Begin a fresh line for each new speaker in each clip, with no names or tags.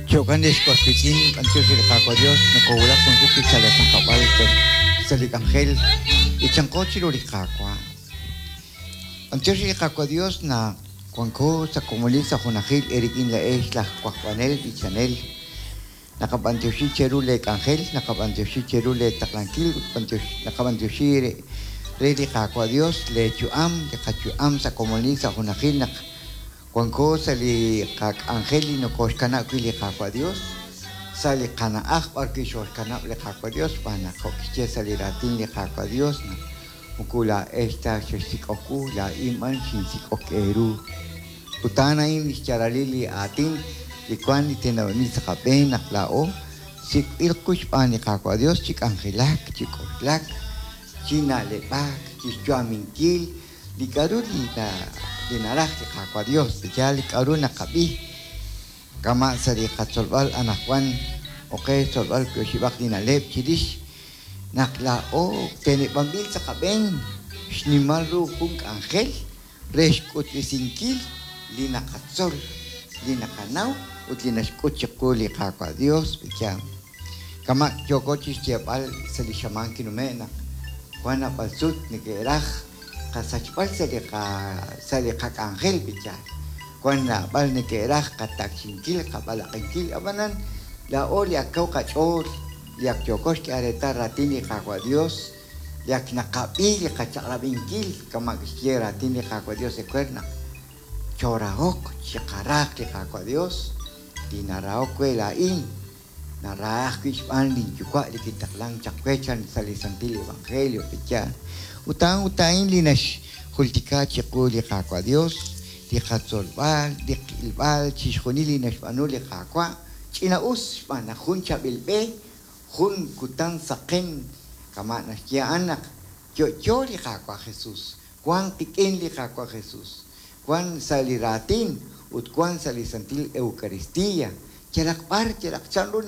Jo'kan ex was wiitz'in, b'antiox re li Qaawa' Dios, nokowulak jun sut chik sa' lee junkab'al sa' li k'anjel b'ichanqo chiru li Qaawa'. B'antiox re li Qaawa' Dios naq wanko sa' komonil sa' junajil eerik'in laa'ex laj wajb'anel b'ichanel. Naqab'antioxi cheru lee k'anjel, naqab'antioxi cheru lee taqlankil ut naqab'antioxi re li Qaawa' Dios lee yu'am, li qayu'am sa' komonil sa' junajil naq Wanko sa' li qak'anjel li nokooxkanab' wi' li Qaawa' Dios, sa' li qana'aj b'ar wi' xooxkanab' li Qaawa' Dios, xb'aan naq jo' kixye sa' li raatin li Qaawa' Dios naq moko laa'ex ta xexsik'ok wu, laa'in b'an xinsik'ok eeru. Ut a'an a'in lix yaalalil li aatin li wan li teneb'anb'il sa' qab'een naq laa'o sik'b'il qu xb'aan li Qaawa' Dios chi k'anjelak, chi k'oxlak, chi na'leb'ak, chixyu'aminkil Li k'a'ru li naraj li Qaawa' Dios, yaal li k'a'ru naqab'i, kama' sa' li qatzolb'al anajwan, oqe xtzolb'al wi' oxib'aq li na'leb' chirix naq laa'o teneb'anb'il sa' qab'een xnimal ru jun k'anjel re xk'utb'esinkil li naqatzol, li naqanaw ut li naxk'ut chiqu li Qaawa' Dios. Yaal. Kama' yooko chixyeeb'al sa' li xamaan kinume' naq wan naab'al sut neke'raj qasachb'al sa' li sa' li qak'anjel b'ichal. Wan naab'al neke'raj qatakchinkil, qab'alaq'inkil, ab'anan laa'o li ak kaw qach'ool, li ak yooko xk'ehal reetal raatin li Qaawa' Dios, li ak naqab'i li qachaq'rab'inkil kama' kixye raatin li Qaawa' Dios ewer naq choorahoq, chiqaraaq li Qaawa' Dios, li narahok we laa'in, Naraha ajwi' xb'aan lin Yuwa' li kitaqlank chaq we chan sa' li santil evangelio, pe'yaal? Ut a'an ut a'in li naxjultika chiqu li Qaawa' Dios, li qatzolb'al, li qilb'al, chixjunil li naxb'aanu li Qaawa', ch'ina-us xb'aan naq jun chaab'il b'e, jun kutan saqen, kama' naxye a'an naq yo'yo li Qaawa' Jesus, wan qik'in li Qaawa' Jesus, wan sa' li raatin ut wan sa' li santil Eucaristia, yalaq b'ar, yalaq chanru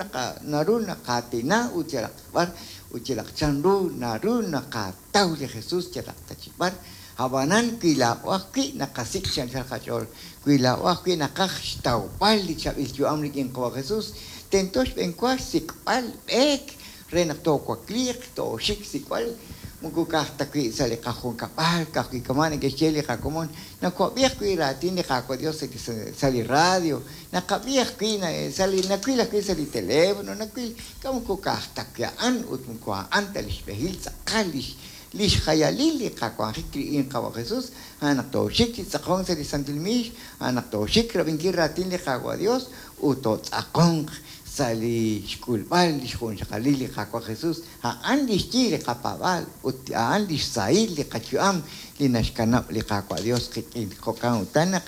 naru naqaatina ut yalaq b'ar ut yalaq chanru naru naqataw li Jesus yalaq ta chik b'ar. Ab'anan wi laa'o ajwi' naqasik' chi anchal qach'ool, wi laa'o ajwi' naqaj xtawb'al li chaab'il yu'am rik'in Qawa' Jesus, tento xb'eenwa xsik'b'al b'eek re naq toowakliiq, tooxik xsik'b'al, moko ka'aj ta wi' sa' li qajunkab'al, ka'ajwi' kama' neke'xye li qakomon, nawab'i ajwi' raatin li Qaawa' Dios sa' li radio, naqab'i ajwi' sa' li, nawil ajwi' sa' li teléfono, nawil, k'a' moko ka'aj ta wi' a'an ut moko a'an ta lix b'ehil tz'aqal lix, lix jayalil li qawanjik rik'in Qawa' Jesus, a'an naq tooxik chi tz'aqonk sa' li santil miix, a'an naq tooxik rab'inkil raatin li Qaawa' Dios ut tootz'aqonq sa' li xk'ulb'al li xjunxaqalil li Qaawa' Jesus, a'an li xyi li qapaab'aal ut a'an li xsahil li qayu'am li naxkanab' li Qaawa' Dios qik'in. Jo'kan utan naq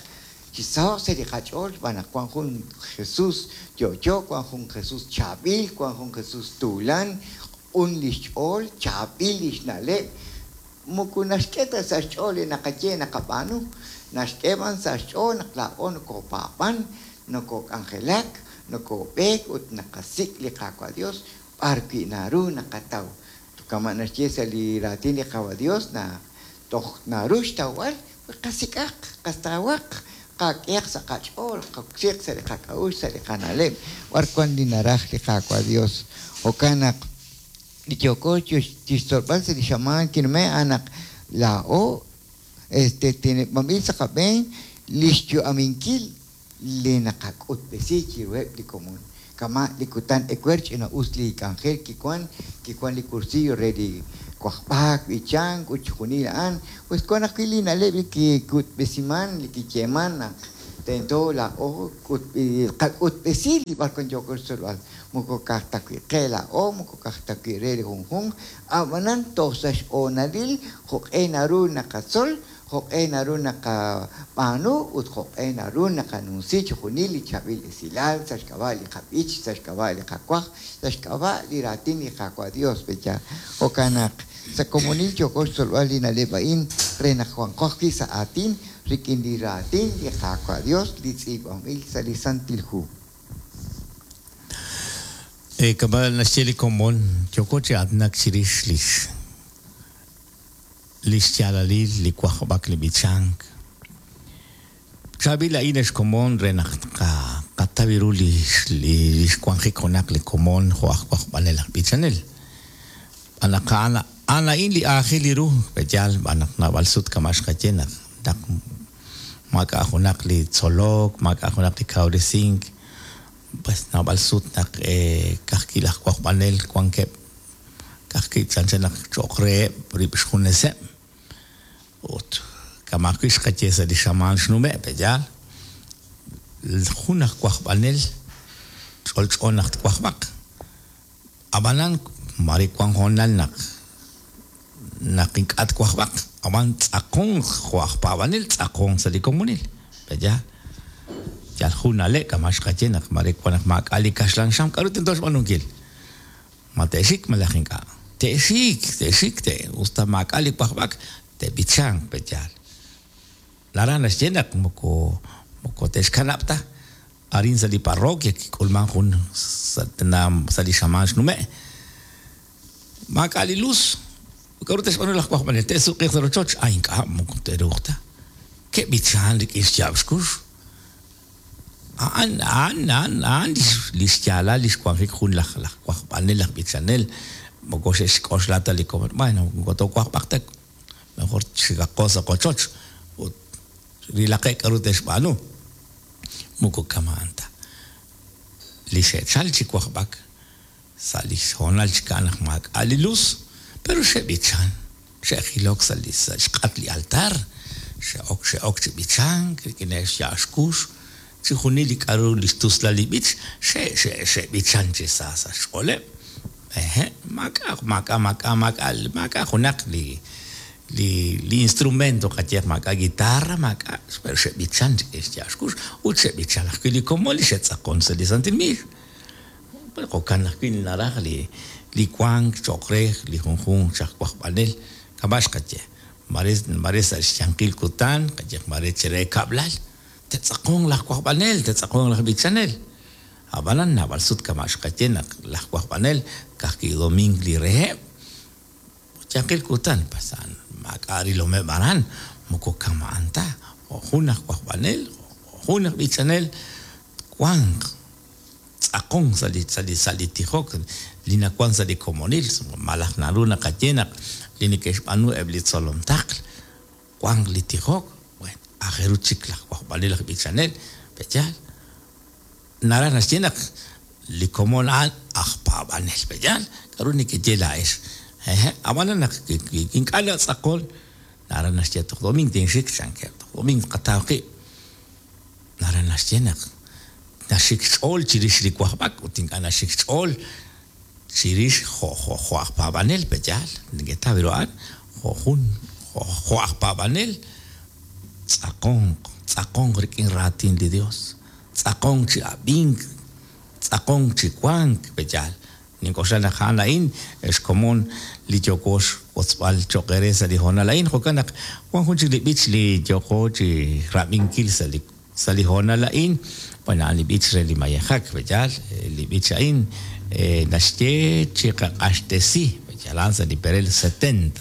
chisaho'q sa' li qach'ool xb'aan naq wan jun Jesus yo'yo, wan jun Jesus chaab'il, wan jun Jesus tuulan, q'un li xch'ool, chaab'il li xna'leb', moko naxk'e ta sa' xch'ool li naqaye naqab'aanu, naxk'e b'an sa' xch'ool naq laa'o nokopaab'an, Nokok'anjelak, nokob'eek ut naqasik' li Qaawa' Dios b'ar wi' naru naqataw. Kama' naxye sa' li raatin li Qaawa' Dios naq toj naru xtawb'al, wi qasik'aq, qatawaq, qak'ehaq sa' qach'ool, qoksiiq sa' li qak'a'uxl, sa' li qana'leb' b'ar wan li naraj li Qaawa' Dios. Jo'kan naq li yooko chixtzolb'al sa' li xamaan kinume' a'an naq laa'o Este teneb'anb'il sa' qab'een li xyu'aminkil li naqak'utb'esi chiruheb' li komon. Kama' li kutan ewer ch'ina-us li k'anjel kiwan, kiwan li cursillo re li wajb'ak, b'ichank ut chixjunil a'an. Pues wan ajwi' li na'leb' li kik'utb'esiman, li kiyeeman naq tento laa'o tqak'utb'esi li b'arwan yooko xtzolb'al. Moko ka'aj ta wi' qe laa'o, moko ka'aj ta wi' re li junjunq, a'b'anan toj sa' xhoonalil jo'q'e naru naqatzol, jo'q'e naru naqab'aanu ut jo'q'e naru naqanumsi chixjunil li chaab'il esilal sa' xk'ab'a' li qab'ich, sa' xk'ab'a' li qawajb', sa' xk'ab'a' li raatin li Qaawa' Dios, pe'yaal? Jo'kan naq sa' komonil yooko xtzolb'al li na'leb' a'in re naq wanqo ajwi' sa' aatin rik'in li raatin li Qaawa' Dios li tz'iib'anb'il sa' li Santil Hu.
Kama' naxye li komon, yooko chi aatinak chirix lix lix yaalalil li wajb'ak li b'ichank. Chaab'il a'in ex komon re naq tqataw. Neke'taw ru li li xwanjik junaq li komon jo' aj wajb'anel aj b'ichanel. Xb'aan naq a'an a'an a'in li aajel ru, pe'yaal xb'aan naq naab'al sut kama' xqaye naq naq maak'a' junaq li tzolok, maak'a' junaq li kawresink, pues naab'al sut naq ka'ajwi' laj wajb'anel wankeb' ka'ajwi' chanchan naq cho'q reheb' rib' xjuneseb'. Ut kama' ajwi' xqaye sa' li xamaan xnume', pe'yaal? Jun aj wajb'anel ch'olch'o naq twajb'aq. Ab'anan mare wank hoonal naq naq ink'a' twajb'aq, ab'an ttz'aqonq jo' aj paab'anel ttz'aqonq sa' li komonil, pe'yaal? Yal jun na'leb' kama' xqaye naq mare wank naq maak'a' li kaxlan xam, k'aru tento xb'aanunkil? Ma te'xik malaj ink'a'? Te'xik, te'xik, te' us ta maak'a' li wajb'ak, te'b'ichanq, pe'yaal? Naraj naxye naq moko moko te'xkanab' ta. Arin sa' li parroquia kik'ulman jun sa' sa' li xamaan xnume'. Maak'a' li luz. K'a'ru te'xb'aanu laj wajb'anel? Te'suq'iiq sa' rochoch? A ink'a', moko te'ruuq ta. Ke'b'ichan rik'in xyaab' xkux. A'an, a'an, a'an, a'an li xyaalal li xwanjik jun laj laj wajb'anel, laj b'ichanel. Moko xe'xk'oxla ta li komon, bueno, moko toowajb'aq ta, mejor xikaqo sa' qochoch ut rilaqeb' k'a'ru te'xb'aanu. Moko kama'an ta. Li xe'chal chi wajb'ak sa' li hoonal chik a'an naq maak'a' li luz, pero xe'b'ichan, xe'jilok sa' li sa' xq'at li altar, xe'ok xe'ok chi b'ichank rik'ineb' xyaab' xkux, chixjunil li k'a'ru li xtuslal li b'ich, xe' xe' xe'b'ichan chi sa sa' xch'ooleb'. Ehe', maak'a' maak'a' maak'a' maak'a' maak'a' junaq li li li instrumento qayehaq maak'a' guitarra, maak'a', pero xe'b'ichan rik'in xyaab' xkux ut xe'b'ichan ajwi' li komon li xe'tz'aqon sa' li santil miix. Jo'kan ajwi' naraj li li wank cho'q re li junjunq chi aj wajb'anel, kama' xqaye, mare mare sa' xyanqil kutan, qayehaq mare chire kab'lal, te'tz'aqonq laj wajb'anel, te'tz'aqonq laj b'ichanel. Ab'anan naab'al sut kama' xqaye naq laj wajb'anel ka'ajwi' domink li reheb', Yanqil kutan, pues a'an maak'a' rilomeb' aran, moko kama'an ta, jo' jun aj wajb'anel, jo' jun aj b'ichanel, twanq tz'aqonk sa' li sa' li sa' li tijok li nawank sa' li komonil, malaj naru naqaye naq li neke'xb'aanu eb' li tzolom taql, wanq li tijok, bueno, aajel ru chik laj wajb'anel, laj b'ichanel, pe'yaal? Naraj naxye naq li komon a'an aj paab'anel. Pe'yaal? K'a'ru nekeye laa'ex? Hehe'. Ab'anan naq ink'a' natz'aqon, naraj naxye toj doming tinxik, chankeb'. Toj doming tqataw qib'. Naraj naxye naq naxik xch'ool chirix li wajb'ak ut ink'a' naxik xch'ool chirix jo' jo' jo' aj paab'anel. Pe'yaal? Neketaw ru a'an? Jo' jun jo' aj paab'anel tz'aqonq, tz'aqonq rik'in raatin li Dios. Tz'aqonk chi ab'ink, tz'aqonk chi wank, pe'yaal? Nink'oxla naq a'an a'in xkomon li yooko xwotzb'al cho'q eere sa' li hoonal a'in. Jo'kan naq wan jun chik li b'ich li yooko chi rab'inkil sa' li sa' li hoonal a'in. Bueno, a'an li b'ich re li mayejak, pe'yaal? Li b'ich a'in naxye chiqaq'axtesi, pe'yaal? A'an sa' li perel 70.